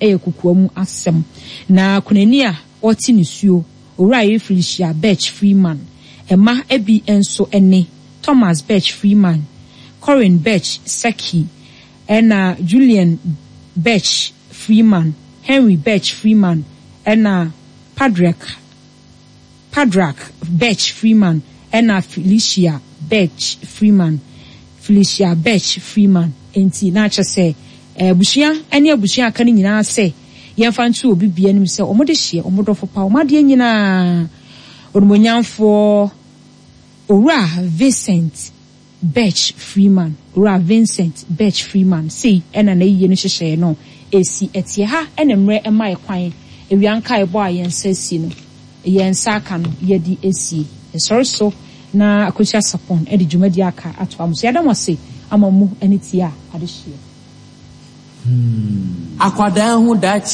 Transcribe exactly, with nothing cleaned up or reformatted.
Yɛ kokoam asɛm. Na kunani a ɔte nisuo, Owura Felicia Birch Freeman. Mma bi nso ne Thomas Birch Freeman, Corin Birch Seki, ɛna Julian Birch Freeman, Henry Birch Freeman, ɛna Padrack Padrack Birch Freeman, ɛna Felicia Birch Freeman, Felicia Birch Freeman. Enti na akyɛ sɛ abusua ne abusua aka no nyinaa sɛ yɛmfa nto obi bia anim sɛ ɔmo de hyeɛ ɔmo dɔfo pa, ɔmo adeɛ nyinaa, onimonyamfoɔ Owura Vincent Birch Freeman, Owura Vincent Birch Freeman. Sei ɛna n'ayie no hyehyɛeɛ no esi ɛteɛ ha. Ɛna mmerɛ ɛma ɛkwan ewia nka ɛbɔ a yɛn nsa si no, yɛn nsa aka no, yɛde esie ɛsɔre so na Akosua Sapɔn ɛde dwumadi aka ato am so. Yɛda mo ase ama mu ɛne tie a adehyeɛ. Akwadaa ho daakye.